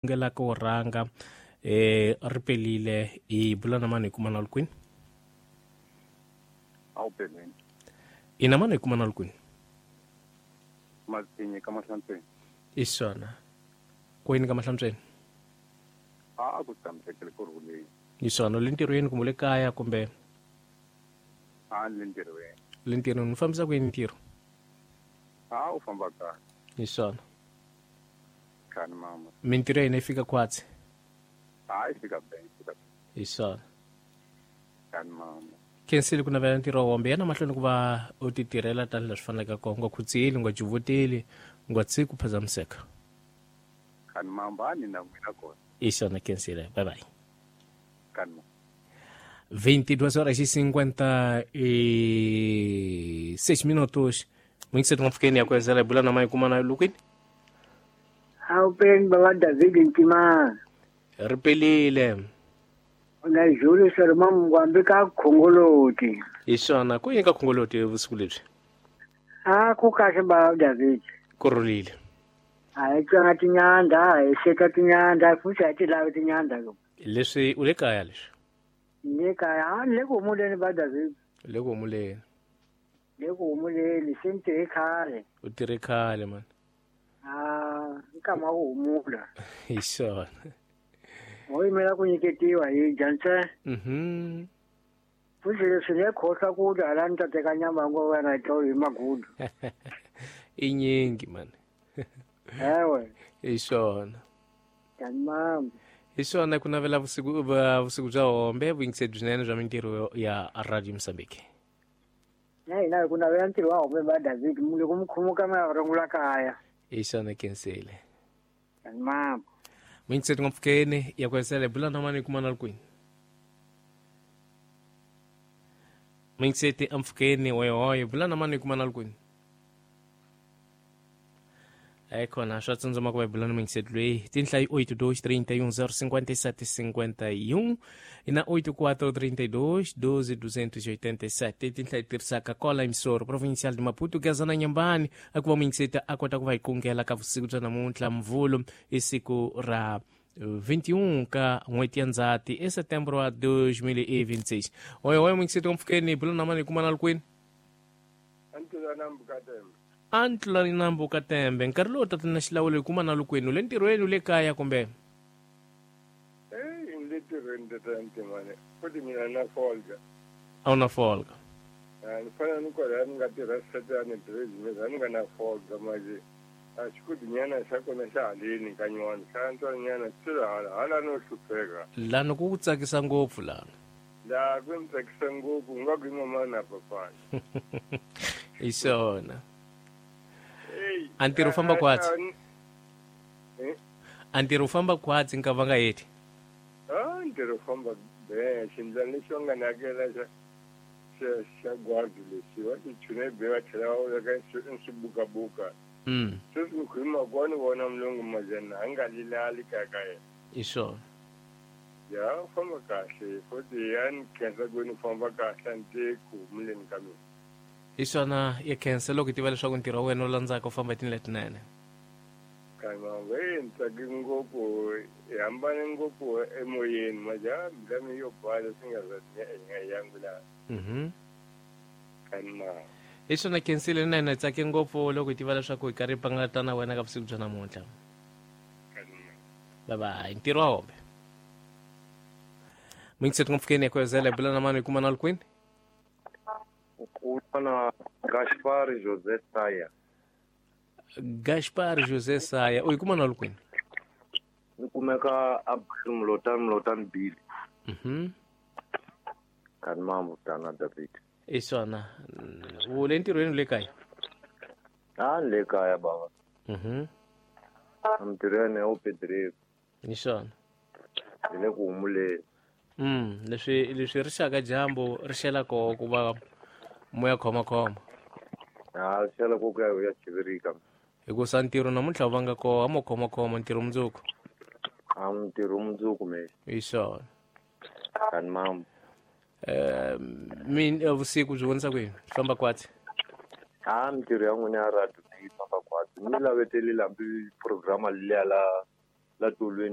Ngela ko rhanga ri pelile hi bula na mani hi kuma na kwini? A wu peleni. Ina mani hi kuma na kwini? Matinyi ka Mahlantsweni. I swona. Kwini ka Mahlantsweni? A ku tshamisekile ku rhuleni. I swona, le ntirhweni kumbe le kaya kumbe? A le ntirhweni. Le ntirhweni, u fambisa ku yini ntirho? A u famba kahle. I swona. Khani mama. Mintirho ya hina yi fika khwatsi? A yi fika be, yi fika. Hi swona. Khani mama. Khensile ku navela ntirho wa wombe. Yana mahlweni ku va u ti tirhela tanihi leswi faneleke kona. U nga khutseli, u nga juvuteli, u nga tshiki ku phazamiseka. Khani mama, a ni na n'wina kona. Hi swona, Khensile. Bye bye. Khani mama. 22 horas e 56 minutos. Muito cedo ngomfukeni yakwezela ibula na mai kuma na lukwini. Awupeni baba David Ntimana. Ri pelile. Na Julius Rima Mugwambi ka Khongoloti. Hi swona, ku yini ka Khongoloti vusiku lebyi? A ku kahle baba David. Ku rhulile. A hi tswanga tinyandza, hi seka tinyandza, futhi a hi ti lavi tinyandza lo. Leswi u le kaya leswi? Le kaya, a le ku humuleni ba David. Le ku humuleni. Le ku humuleni, se ni tirhe khale. U tirhe khale man. Ah, nkama wa ku humula. Hi swona. Ho yimela ku nyiketiwa hi dya ntsena. Futhi leswi ni khohlwa ku dya hala ni ta teka nyama ngo wena hi tlo hi magudu. I nyingi man. Ewe. Hi swona. Tani mama. Hi swona ku navela vusiku vusiku bya hombe vuyingiseri byinene bya mintirho ya Radio Mozambique. Na hina hi ku navela ntirho wa hombe ba David loko mi khumuka mi ya rungula kaya. Hi swona Khensile. Tani mama. Vuyingiseri ngopfukeni ya ku hesela bula na mani kuma na kwini. Vuyingiseri amfukeni hoye hoye bula na mani kuma na kwini. Khona swa tsandzama ku va hi bula na muyingiseri loyi tinhla yi 8 2 31 0 57 51 na 8 4 32 12 287 tinhla yi tirhisaka kola emissoro provincial de Maputo Gazana Nyambani a ku va muyingiseri a kota ku va hi kungela ka vusiku bya namuntlha Mvhulu i siku ra 21 ka n'hweti ya Ndzhati e setembro wa 2026. Hoye hoye muyingiseri mpfukeni bula na mani kuma na kwini? A ntlulani nambu ka tembe nkarhi lowu tatana xilawulo hi kuma na lukwenu le ntirhweni le kaya kumbe? Le ntirhweni tatana Ntimane futhi mina na folga. A wu na folga? Ni fanele ni kwala ni nga tirha setani business a ni nga na folga manje a xikudinyana xa kona xa haleni ka nywana xa antswanyana swi hala hala no hlupheka. Lani ku ku tsakisa ngopfu lana. La ku ni tsakisa ngopfu nga ku mama na papana. Hi swona. A ntirho famba khwatsi. A ntirho famba khwatsi nka va nga heti. A ntirho famba be xindlwana lexi va nga ni hakela xa xa gwadi lexi va xi chune be va tlhela va veka swibukabuka. Sweswi ni khuluma ko ni vona mulungu majana a nga lilali kaya ka yena. Hi swona. Ya famba kahle futhi ya ni khensa ku ni famba kahle a ni te ku humuleni ka mina. Hi swona ya khensa loko hi tiva leswaku ntirho wa wena wu landzaka u famba hi tindlela letinene. Kan'we ni tsake ngopfu hi hambane ngopfu emoyeni maja mbilu mi yo basa swi nga za hi nga yangu laha. Kan'we. Hi swona Khensile na hina hi tsake ngopfu loko hi tiva leswaku hi karhi hi pangata na wena ka vusiku bya namuntlha. Bye bye. Ntirho wa hombe. Muyingiseti ngopfukeni ya kwezela hi bula na mani hi kuma na kwini? Ukubona Gaspar José Saya. Gaspar José Saya, u yi kuma na kwini? Ni kumeka a Mlotani Mlotani Bill. Kani mambo tana David. I swona. U le ntirhweni le kaya? A le kaya baba. Ntirhweni o pedreiro. Hi swona. Ni le ku humuleni. Leswi leswi ri xaka dyambu ri xela koho ku va moya khoma khoma. A xela ko ku ya ya chivirika. Hikusa ntirho namuntlha wu vanga koho a mo khoma khoma ntirho mundzuku. A ntirho mundzuku me. Hi swona. Kani mambo. Min vusiku byi vonisa ku yini? Famba kwatsi. A mintirho ya n'wina ya radio yi famba kwatsi. Ni lavetele lambi programa liya la La tolweni.